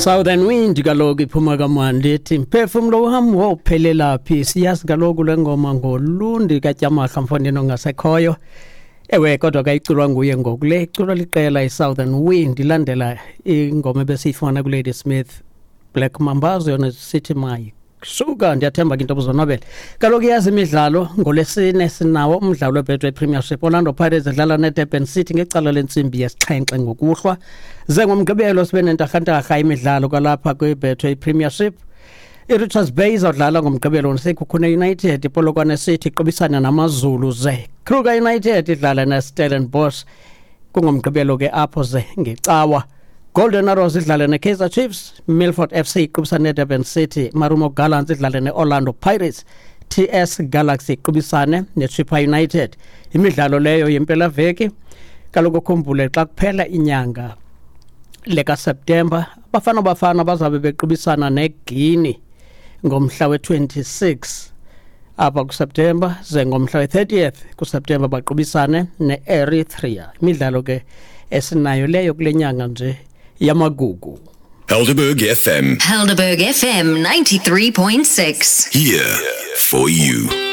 Southern Wind kaloku iphuma kamandi ithi mphefumlo wam wophelela phi. Siyazi kaloku le ngoma ngolundi kaTyamahla mfondini ongasekhoyo. Ewe, kodwa kayiculwa nguye ngoku le iculwa liqela i-Southern Wind, ilandela ingoma ebesiyifumana kuLady Smith, Black Mambazo, yona sithi My Sugar. Ndiyathemba ke into obuzonwabele. Kaloku yazi imidlalo ngolwesine sinawo umdlalo weBetway Premiership, Orlando Pirates edlala neDurban City ngecala lentsimbi yesixhenxe ngokuhlwa. Ze ngomgqibelo sibe nentarhantarha imidlalo kwalapha kwiBetway Premiership. I-Richards Bay izawudlala ngomgqibelo neSekhukhune United, iPolokwane City iqubisana naMaZulu, ze Kruger United idlala neStellenbosch kungomgqibelo ke apho. Ze ngecawa Golden Arrows idlale neKaizer Chiefs, Milford FC iqubisane neDurban City, Marumo Gallants idlale ne-Orlando Pirates, TS Galaxy iqubisane neChippa United. Imidlalo leyo yempelaveki. Kaloku ukhumbule xa kuphela inyanga lekaSeptemba, Bafana Bafana bazabe bequbisana neGuinea ngomhla we-26 apha kuSeptemba, ze ngomhla we-30th kuSeptemba baqubisane ne-Eritrea. Imidlalo ke esinayo leyo kule nyanga nje yamagugu. Helderberg FM. Helderberg FM 93.6. Here for you.